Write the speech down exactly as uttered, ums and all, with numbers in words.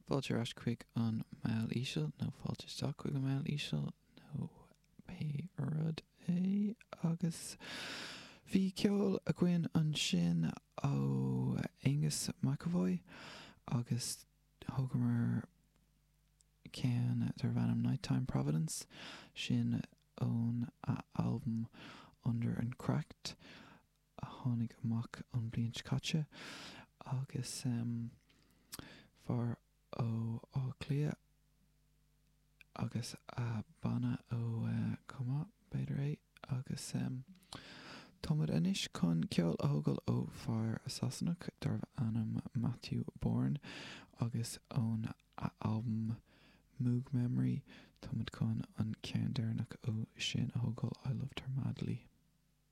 Fáilte ar ais chuig an Meall Íseal, nó fáilte isteach chuig an Meall Íseal, nó pé rud é. Agus bhí ceol againn ansin ó Angus McAvoy agus thógamar ceann darb ainm Nighttime Providence, sin ón albam Under and Cracked a tháinig amach an bhliain seo caite agus um, fear ó Áth Cliath agus a banna ó uh, cuma b'fhéidir é agus um, Táimid anois chun ceol a thógáil ó fear Sasanach darb ainm Matthew Bourne agus ón albam Moog Memory táimid chun an ceann deireanach ó sin a thógáil I Loved Her Madly.